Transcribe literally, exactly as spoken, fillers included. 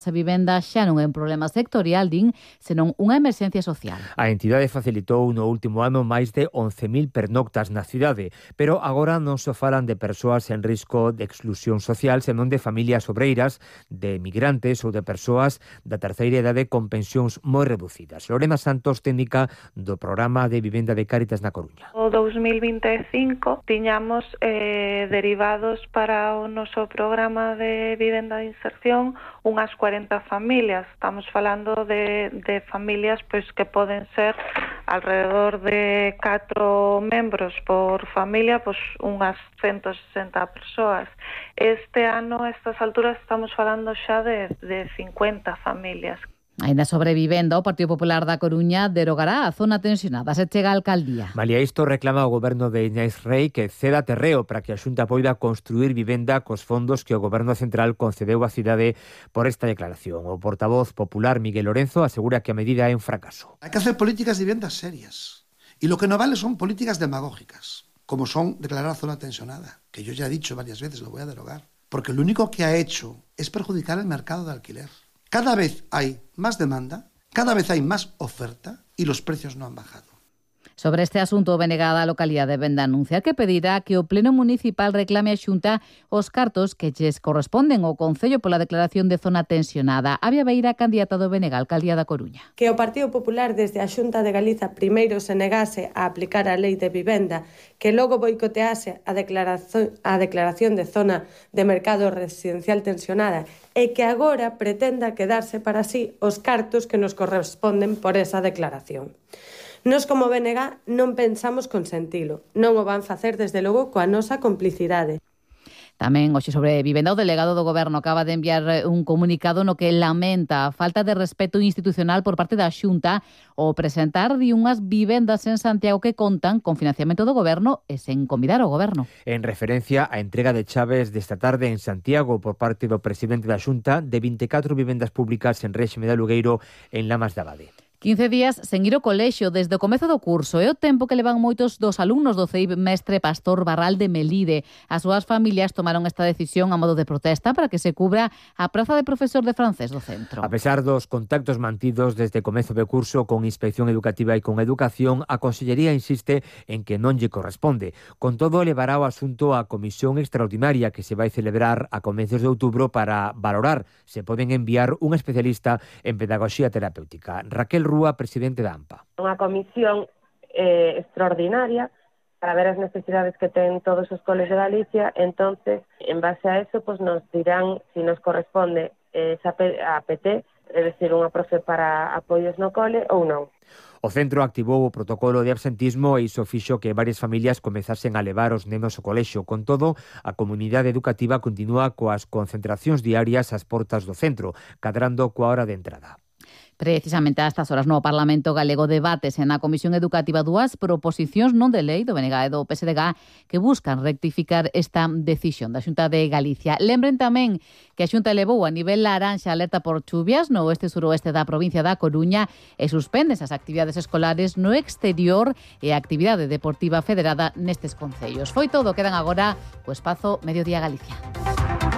A vivenda xa non é un problema sectorial, din, senón unha emerxencia social. A entidade facilitou no último ano máis de once mil pernoctas na cidade, pero agora non só falan de persoas en risco de exclusión social, senón de familias obreiras, de migrantes ou de persoas da terceira idade con pensións moi reducidas. Lorena Santos, técnica do programa de vivenda de Cáritas na Coruña. O dos mil vinte e cinco tiñamos eh, derivados para o noso programa de vivenda de inserción unhas cuarenta familias. Estamos falando de, de familias pois que poden ser alrededor de catro membros por familia, pois unhas ciento sesenta persoas. Este ano, a estas alturas, estamos falando xa de, de cincuenta familias. Ainda sobre vivenda, o Partido Popular da Coruña derogará a zona tensionada. Se chega a alcaldía. Malia isto, reclama o goberno de Iñais Rei que ceda terreo para que a Xunta poida construir vivenda cos fondos que o goberno central concedeu á cidade por esta declaración. O portavoz popular Miguel Lorenzo asegura que a medida é un fracaso. Hay que hacer políticas de viviendas serias. Y lo que no vale son políticas demagógicas, como son declarar zona tensionada, que yo ya he dicho varias veces, lo voy a derogar. Porque lo único que ha hecho es perjudicar el mercado de alquiler. Cada vez hay más demanda, cada vez hay más oferta y los precios no han bajado. Sobre este asunto, o B N G da localidade de Venda anuncia que pedirá que o Pleno Municipal reclame a Xunta os cartos que lles corresponden ao Concello pola declaración de zona tensionada. Avia Beira, candidata do B N G á alcaldía da Coruña. Que o Partido Popular desde a Xunta de Galiza primeiro se negase a aplicar a lei de vivenda, que logo boicotease a declaración, a declaración de zona de mercado residencial tensionada e que agora pretenda quedarse para sí os cartos que nos corresponden por esa declaración. Nos como B N G non pensamos consentilo, non o van facer desde logo coa nosa complicidade. Tamén hoxe sobre vivenda, o delegado do Goberno acaba de enviar un comunicado no que lamenta a falta de respeto institucional por parte da Xunta ao presentar de unhas vivendas en Santiago que contan con financiamento do Goberno e sen convidar ao Goberno. En referencia á entrega de chaves desta tarde en Santiago por parte do presidente da Xunta de vinte e catro vivendas públicas en réxime de alugueiro en Lamas de Abade. quince días sen ir ao colexio desde o comezo do curso é o tempo que levan moitos dos alumnos do C I B Mestre Pastor Barral de Melide. As súas familias tomaron esta decisión a modo de protesta para que se cubra a praza de profesor de francés do centro. A pesar dos contactos mantidos desde o comezo do curso con Inspección Educativa e con Educación, a Consellería insiste en que non lle corresponde. Con todo, levará o asunto á comisión extraordinaria que se vai celebrar a comezos de outubro para valorar se poden enviar un especialista en pedagogía terapéutica. Raquel Rúa, presidente da AMPA. Unha comisión eh, extraordinaria para ver as necesidades que ten todos os coles de Galicia, entonces, en base a eso, pues nos dirán si nos corresponde esa a P T, é dicir, unha profe para apoios no cole ou non. O centro activou o protocolo de absentismo e iso fixo que varias familias comezasen a levar os nenos ao colexio. Con todo, a comunidade educativa continúa coas concentracións diarias ás portas do centro, cadrando coa hora de entrada. Precisamente a estas horas no Parlamento Galego debates na Comisión Educativa dúas proposicións non de lei do B N G e do P S D G que buscan rectificar esta decisión da Xunta de Galicia. Lembren tamén que a Xunta elevou a nivel laranxa alerta por chuvias no oeste e suroeste da provincia da Coruña e suspende as actividades escolares no exterior e a actividade deportiva federada nestes concellos. Foi todo, quedan agora o espazo Mediodía Galicia.